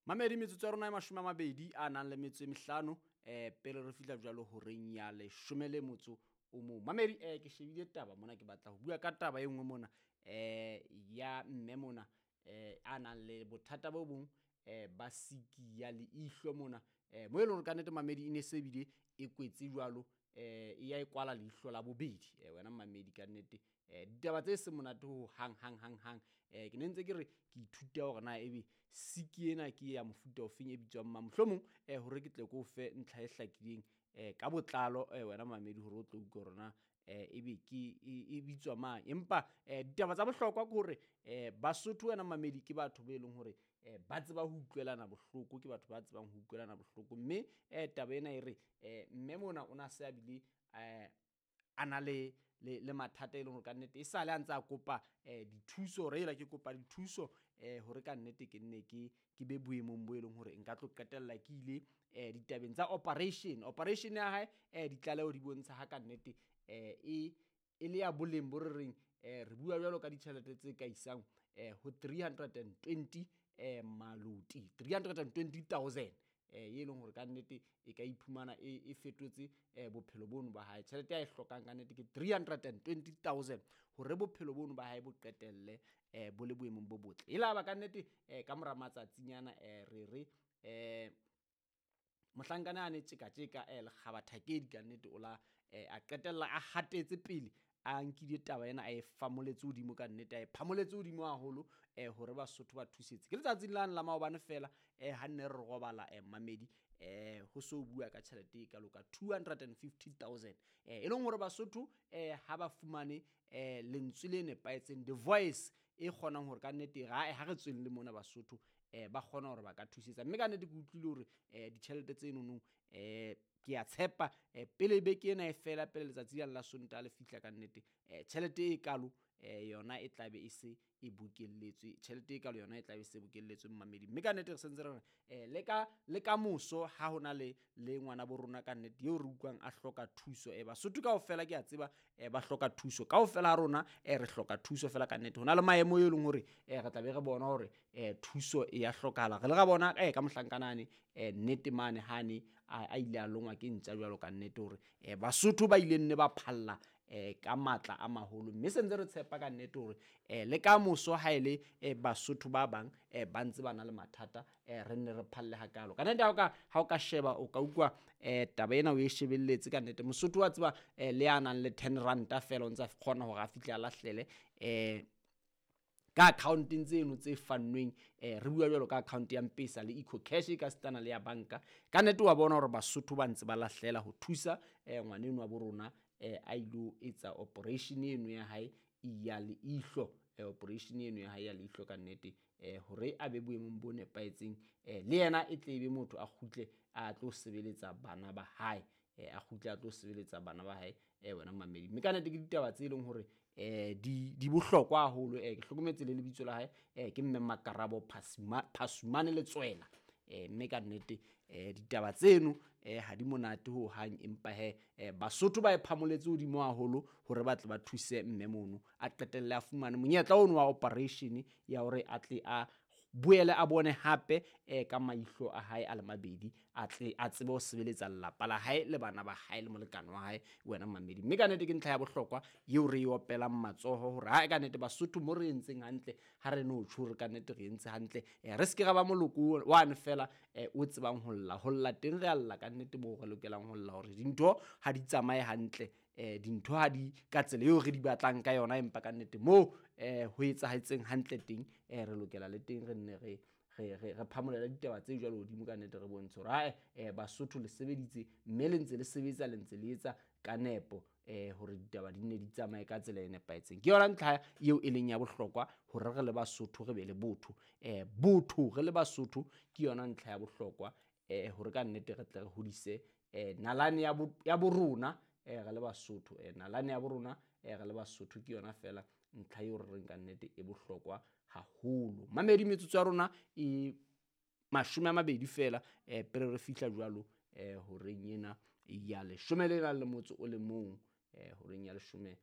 Mamedi, metsotso ya rona e 25 pele re fihla jwalo horeng ya 11. Mamedi, ke shebile taba mona, ke batla ho bua ka taba e nngwe mona ya mme mona a nang le bothata bo bong ba siki ya leihlo mona, mo e leng hore ka nnete mamedi e ne se bile e kwetse jwalo, e ya e kwala leihlo la bobedi. Wena mamedi, ka nnete ditaba tse seng monate ho hang hang hang hang. Ke ne ntse ke re ke ithuta hore na ebe siki ena ke ya mofuta ofeng, e bitswang mang, mohlomong hore ke tle ke o fe ntlha e hlakileng ka botlalo, wena mamedi, hore o tlo utlwa hore na ebe ke e bitswa mang. Empa ditaba tsa bohlokwa ke hore Basotho, wena mamedi, ke batho be leng hore ba tseba ho utlwelana bohloko, ke batho ba tsebang ho utlwelana bohloko. Mme taba ena e re mme mona o na se a bile a na le le mathata e leng hore kannete e sale a ntse a kopa dithuso, hore ela ke kopa dithuso hore kannete ke nne ke be boemong bo e leng hore nka tlo qetella ke ile ditabeng tsa operation. Operation ya hae, ditlaleho di bontsha ha kannete e le ya boleng bo re reng, re bua jwalo ka ditjhelete tse ka isang ho 320 maloti, 320,000, e leng hore kannete e ka iphumana e fetotse bophelo bono ba hae. Tjhelete ya e hlokang kannete ke 320,000 hore bophelo bono ba hae bo qetelle bo le boemong bo botle. E laba kannete ka mora matsatsinyana re re mohlankana a ne tjeka-tjeka lekgaba thakedi kannete o la a qetella a hatetse pele, a nkile taba ena a e famoletse hodimo kannete, a e phamoletse hodimo haholo hore Basotho ba thusetse. Ke letsatsing lane la maobane fela ha nne re robala, mamedi, ho so bua ka tjhelete e kalo ka 250,000, e leng hore Basotho ha ba fumane lentswe le nepahetseng, the voice e kgonang hore kannete ha re tsweng le mona Basotho ba kgona hore ba ka thusetsa. Mme kannete ke utlwile hore ditjhelete tse nonong, ke a tshepa pele beke ena e fela, pele letsatsi lane la Sontaha le fihla, kannete tjhelete e kalo yona e tlabe e se e bokelletswe, tjhelete e kalo yona e tlabe e se bokelletswe mmamedi. Mme kannete re sentse re re le ka moso ha hona le ngwana bo rona kannete eo re utlwang a hloka thuso, Basotho kaofela ke a tseba ba hloka thuso kaofela ha rona, re hloka thuso fela kannete. Hona le maemo e leng hore re tla be re bona hore thuso e ya hlokahala. Re le ra bona ka mohlankana nnete mane hane a ile a longwa ke ntja jwalo kannete, hore Basotho ba ile nne ba phalla ka matla a maholo. Mme se ntse re tshepa kannete hore le ka moso ha ele Basotho ba bang ba ntse ba na le mathata, re nne re phalle hakalo kannete. Ha o ka sheba, o ka utlwa taba ena o e shebelletse kannete. Mosotho wa tseba le ya nang le 10 ranta fela o ntsa kgona hore a fihle a lahlele ka accounteng tseno tse fannweng, re bua jwalo ka account ya M-Pesa le EcoCash e ka sitana le ya banka. Kannete wa bona hore Basotho ba ntse ba lahlela ho thusa ngwaneno wa bo rona a ilo etsa operation eno ya hae ya leihlo, operation eno ya hae ya leihlo kannete, hore a be boemong bo nepahetseng, le yena e tle be motho a kgutle a tlo sebeletsa bana ba hae, a kgutle a tlo sebeletsa bana ba hae, wena mamedi. Mme kannete ke ditaba tse leng hore di bohlokwa haholo. Ke hlokometse le lebitso la hae, ke mme Makarabo Phasumane Letswela. Mme kannete ditaba tseno ha di monate ho hang, empa he Basotho ba e phamoletse hodimo haholo hore ba tle ba thuse mme mono a qetelle a fumane monyetla ono wa operation ya hore a tle a boele a bone hape ka maihlo a hae a le mabedi, a tle a tsebe ho sebeletsa lelapa la hae le bana ba hae le molekane wa hae, wena mamedi. Mme kannete ke ntlha ya bohlokwa eo re e opelang matsoho hore ha kannete Basotho mo re entseng hantle, ha re no tjho hore kannete re entse hantle, re se ke ra ba moloko wane fela o tsebang ho lla, ho lla teng re a lla kannete moo re lokelang ho lla hore dintho ha di tsamaye hantle, dintho ha di ka tsela eo re di batlang ka yona, empa kannete moo ho etsahetseng hantle teng, re lokela le teng re nne re phamolele ditaba tse jwalo hodimo kannete, re bontshe hore hae Basotho le sebeditse mme le ntse le sebetsa, le ntse le etsa ka nepo hore ditaba di nne di tsamaye ka tsela e nepahetseng. Ke yona ntlha eo e leng ya bohlokwa hore re le Basotho re be le botho, botho re le Basotho ke yona ntlha ya bohlokwa hore ka nnete re tle re hodise nalane ya borona re le Basotho, nalane ya borona re le Basotho ke yona fela ntlha eo re reng ka nnete e bohlokwa haholo. Mamedi, metsotso ya rona e 20 fela pele re fihla jwalo horeng ena ya 11, horeng ya 11.